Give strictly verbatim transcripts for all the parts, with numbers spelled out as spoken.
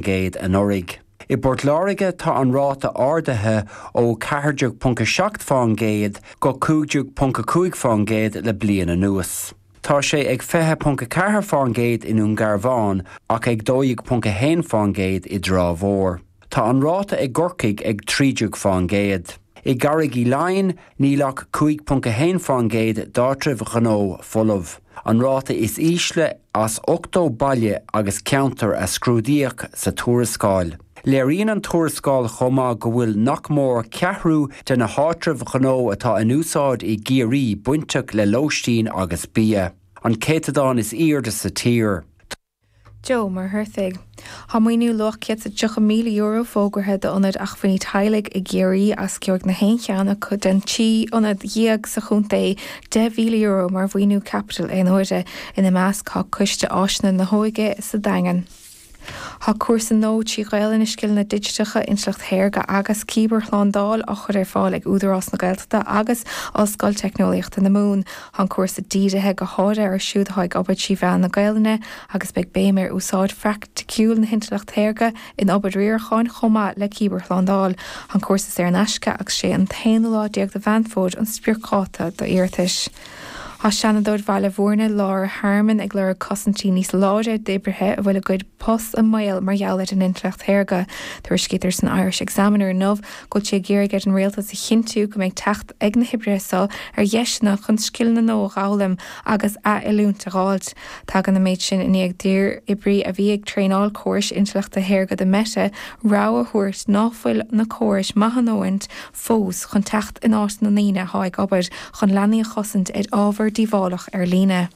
gcéad anuraidh. I bPort Láirge tá an ráta ardaithe ó ceathair déag ponc a seacht faoin gcéad go cúig déag ponc a cúig faoin gcéad le bliain anuas. Tá sé ag fiche ponc a ceathair faoin gcéad i nDún Garbhán ach ag dó dhéag ponc a haon faoin gcéad i dTrá Mhór. Tá an ráta i gCorcaigh ag trí déag faoin gcéad. I gCarraig Uí Leighin níl ach cúig ponc a haon faoin gcéad d'áitribh ghnó folamh. An ráta is ísle as ochtó baile agus ceantar a scrúdaíodh sa tuarascáil. Léiríonn an tuarascáil chomh maith go bhfuil nach mór ceathrú de na háitribh ghnó atá in úsáid i gCiarraí bainteach le lóistín agus bia. An céatadán is airde sa tír. Joe Muircheartaigh. Tá maoiniú luach céad is tríocha míle euro fógartha d'Ionad Acmhainní Teaghlaigh i gCiarraí agus gheobhaidh na haon cheann acu den trí ionad dhéag sa chontae deich mhíle euro mar mhaoiniú caipitil aon uaire. Ina measc tá Coiste Áiseanna na hÓige sa Daingean. Tá cúrsa nua trí Ghaelainn i scileanna digiteacha, intleacht shaorga agus cibearshlándáil á chur ar fáil ag Údarás na Gaeltachta agus Ollscoil Teicneolaíochta na Mumhan. Tá an cúrsa dírithe go háirithe ar siúd atá ag obair trí mheán na Gaelainne agus beidh béim ar úsáid phraiticiúil na hintleachta saorga in obair riaracháin chomh maith le cibearshlándáil. Tá an cúrsa saor in aisce agus sé an t-aonú lá déag de Mheán Fómhair an spriocdháta d'iarratais. Tá Seanadóir Bhaile Bhúirne Laura Harmon ag lorg cosaintí níos láidre d'oibrithe a bhfuil a gcuid post i mbaol mar gheall ar an intleacht shaorga. Tuairiscítear san Irish Examiner inniu go bhfuil sí ag iarraidh ar an rialtas a chinntiú go mbeidh teacht ag na hoibrithe seo ar dheiseanna chun scileanna nua a fhoghlaim agus ath-oiliúint a fháilt. Tagann an méid sin i ndiaidh d'oibrí a bhí ag traenáil córais intleachta shaorga do Meta rabhadh a thabhairt ná fuil na córais maith a ndóthain fós chun teacht in áit na ndaoine atá ag obair chun leanaí a chosaint ar ábhar díobhálach ar líne.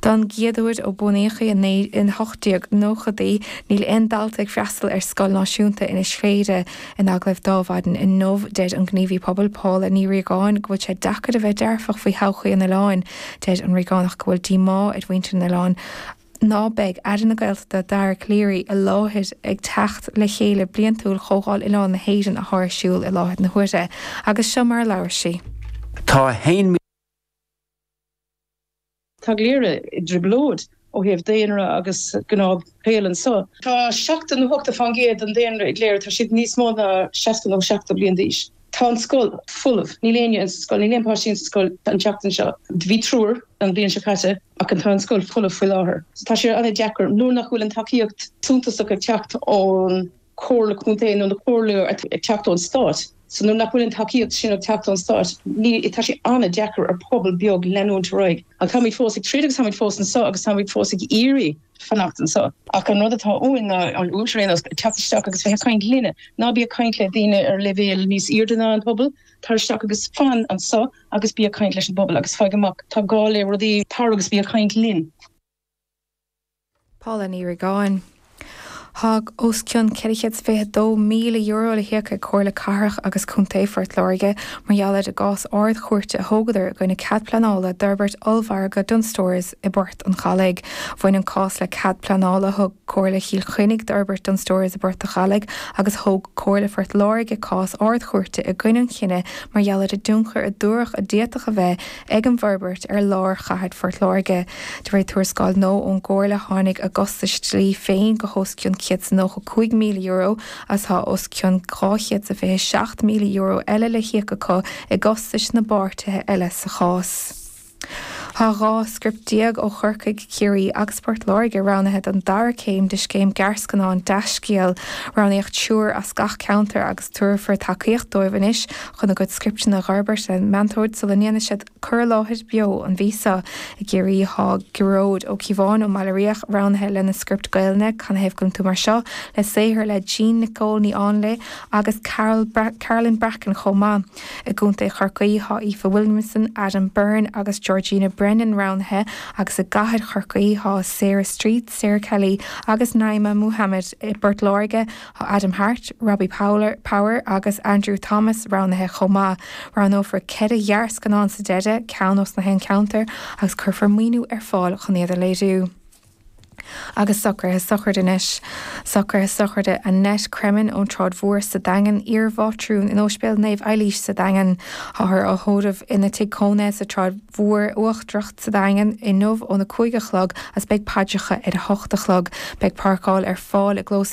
Don gcéad uair ó bunaíodh í in ocht déag nóchaidí, níl aon dalta ag freastal ar scoil náisiúnta in Inis Chléire. In agallamh d'Adhmhaidin inniu, deir an gníomhaí pobail Paula Ní Riagáin go bhfuil sé deacair a bheith dearfach faoi thodhchaí an oileáin. Deir an Riagánach go bhfuil díomá ar mhuintir an oileáin ná beidh Aire na Gaeltachta Dara Calleary i láthair ag teacht le chéile bliantúil Chomhdháil Oileán na hÉireann atá ar siúl i láthair na huaire. Agus seo mar a labhair sí. Tá haon Tá Cléire i dtrioblóid ó thaobh daonra agus gnáthshaol anseo. Tá seachtó nó ochtó faoin gcéad den daonra i gCléire, tá siad níos mó ná seasca nó seachtó bliain d'aois. Tá an scoil folamh, níl éinne insa scoil, níl aon páistí insa scoil an tseachtain seo. Bhí triúr an bhliain seo caite ach tá an scoil folamh faoi láthair. So tá sé an-deacair nuair nach bhfuil an tacaíocht suntasach ag teacht ón Chomhairle Contae nó na comhairle ag teacht ón stát. So nuair nach bhfuil an tacaíocht sin ag teacht ón stát, ní tá sé an-deacair ar pobal beag leanúint ar aghaidh. Ach táimid fós ag troid agus táimid fós anseo agus táimid fós ag iarraidh fanacht anseo. Ach an rud atá uainn ná an uachtarán ar nós teacht isteach agus bheith ag caint linne. Ná bí ag caint le daoine ar leibhéal níos airde ná an pobal, tar isteach agus fan anseo agus bí ag caint leis an bpobal agus faigh amach tá gá le rudaí, tar agus bí ag caint linn. Paula Ní Riagáin. Tá os cionn ceithre chéad is fiche dó míle euro le híoc ag Comhairle Cathrach agus Contae Phort Láirge mar gheall ar an gcás Ard-Chúirte a thógadar i gcoinne cead pleanála d'fhorbairt ollmhargadh Dunnes Stores i bPort an Chalaigh. Bhain an cás le cead pleanála a thug Comhairle Chill Chainnigh d'fhorbairt Dunnes Stores i bPort an Chalaigh agus thóg Comhairle Phort Láirge cás Ard-Chúirte i gcoinne an chinnidh mar gheall ar an dtionchar a dúradh a d'fhéadfadh a bheith ag an bhforbairt ar lár chathair Phort Láirge. De réir tuarascáil nua ón gComhairle tháinig a gcostais dlí féin go hos cionn céad is nócha cúig míle euro agus tá os cionn dhá chéad is fiche seacht míle euro eile le híoc acu i gcostais na bpáirtithe eile sa chás. Tá dhá script déag ó Chorcaigh, Ciarraí agus Port Láirge roghnaithe don dara céim de scéim gearrscannán Deascéal. Roghnaíodh triúr as gach ceantar agus tabharfar tacaíocht dóibh anois chun a gcuid scripteanna a fhorbairt le meantóir sula ndéanfaidh siad cur i láthair beo an mhí seo. I gCiarraí tá Gearóid Ó Cíobháin ó mBaile Riach roghnaithe lena script Gaelainne, Canathaobh go bhfuil tú mar seo, le saothar le Jean Nicole Ní Áinle agus Carol Carolyn Bracken chomh maith. I gContae Chorcaí tá Aoife Williamson, Adam Byrne agus Georgina Brennan roghnaithe agus i gCathair Chorcaí tá Sarah Street, Sarah Kelly agus Naima Muhammad. I bPort Láirge tá Adam Hart, Robbie Power, Power agus Andrew Thomas roghnaithe chomh maith. Roghnófar ceithre ghearrscannán sa deireadh, ceann ós na haon cheantar, agus cuirfear maoiniú ar fáil chun iad a léiriú. Agus socruithe sochraide anois. Socruithe sochraide Annette Cremin ón Tsráid Mhór sa Daingean iar-mhátrún in Ospidéal Naomh Eilís sa Daingean. Táthar á tórramh ina tigh cónaithe sa Tsráid Mhór Uachtarach sa Daingean inniu óna cúig a chlog agus beidh paidreacha ar a hocht a chlog. Beidh páirceáil ar fáil i gclós